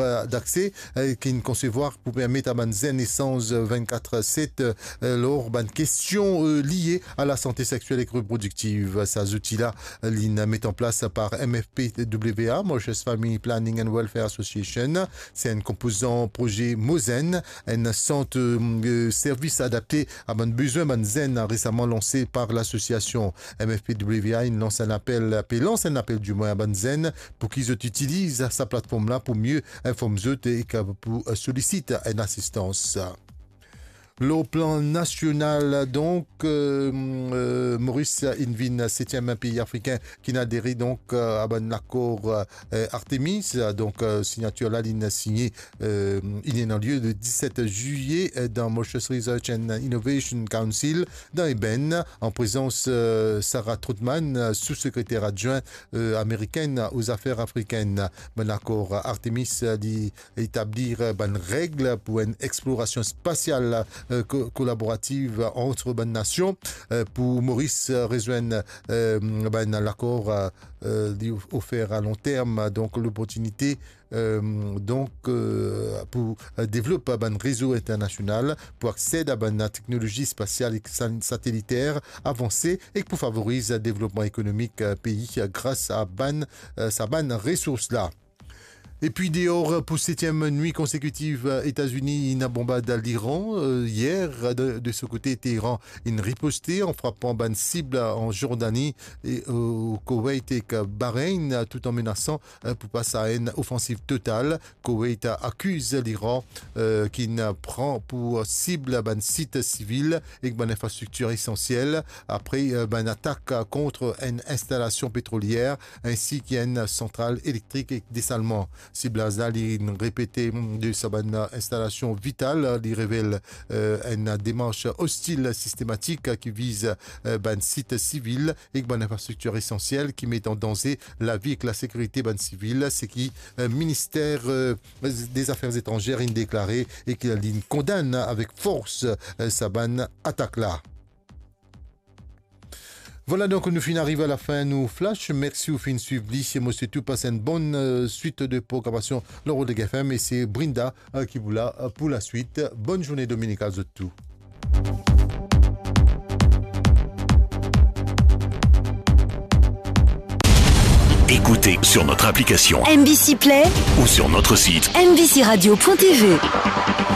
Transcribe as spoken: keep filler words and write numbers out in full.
euh, d'accès, euh, ki'nn konsevwar pou permet a bann zenn esanz vennkat set, euh, lor bann kestion, euh, lie a lasante sexiel ek reprodiktiv. Sa zouti la, euh, li'nn met an plas par M F P W A, Mauritius Family Planning and Welfare Association. Se enn konpozan proze MOZEN, enn sant, euh, servis adapte a bann bezwin bann zenn, resaman lanse par lasosiasion M F P W A. Inn lans enn apel, pe lans enn apel dimwin a bann zenn pou ki zot itiliz sa platform la pou mie inform zot ek pou, euh, solisit enn asistans. Lor plan nasional, donk, euh, euh, Moris inn vinn setiem pei afrikin ki'nn adere, donk, euh, a bann lakor, euh, Artemis. Donk, euh, signatir la, li'nn signe, euh, inn ena lie le diset zilie, euh, dan Mauritius Research and Innovation Council, dan Eben, an prezans, euh, Sarah Trautmann, euh, sou-sekreter adwin, euh, amerikenn o zafer afrikenn. Bann lakor Artemis, euh, li etablir, euh, bann reg pou enn explorasion spasial, euh, ko-, kolaborativ ant bann nasion, euh, pou Moris, euh, rezwenn, euh, bann lakor, euh, euh, li of-, ofer a long term, donk loportinite, euh, donk, euh, pou, euh, devlop bann rezo internasional, pou aksed a bann teknolozi spasial ek sa-, sateliter avanse, ek pou favoriz devlopman ekonomik, euh, pei, euh, gras a bann, euh, sa bann resours la. Epi deor, pou setiem nwi konsekitiv, Etazini inn bonbard Liran, euh, yer. De, de so kote, Teheran inn riposte an frapan bann sib an Zordani e, euh, Koweït ek Bahreïn, tout an menasan, euh, pou pas a enn ofansiv total. Koweït akiz Liran, euh, ki'nn pran pou sib bann sit sivil ek bann infrastriktir esansiel apre, euh, bann atak kont enn instalasion petrolier ensi ki enn santral elektrik ek desalman. Siblaz la, li repete de sa bann instalasion vital, li revel, euh, enn demars ostil sistematik ki viz, euh, bann sit sivil ek bann infrastriktir esansiel ki met an danze lavi ek lasekirite bann sivil, seki, euh, Minister, euh, des Affaires Étrangères inn deklare, e ki li'nn kondann avek fors, euh, sa bann atak la. Vwala, donk, nou finn ariv a lafin nou flash. Mersi ou finn swiv li. Mo swet ou pas enn bonn, euh, swit de programasion lor Rodeg F M, e se Brinda, euh, ki pou la, euh, pou laswit. Bonn zourne dominikal zot tou. Écoutez sur notre application M B C Play ou sur notre site M B C radio point T V.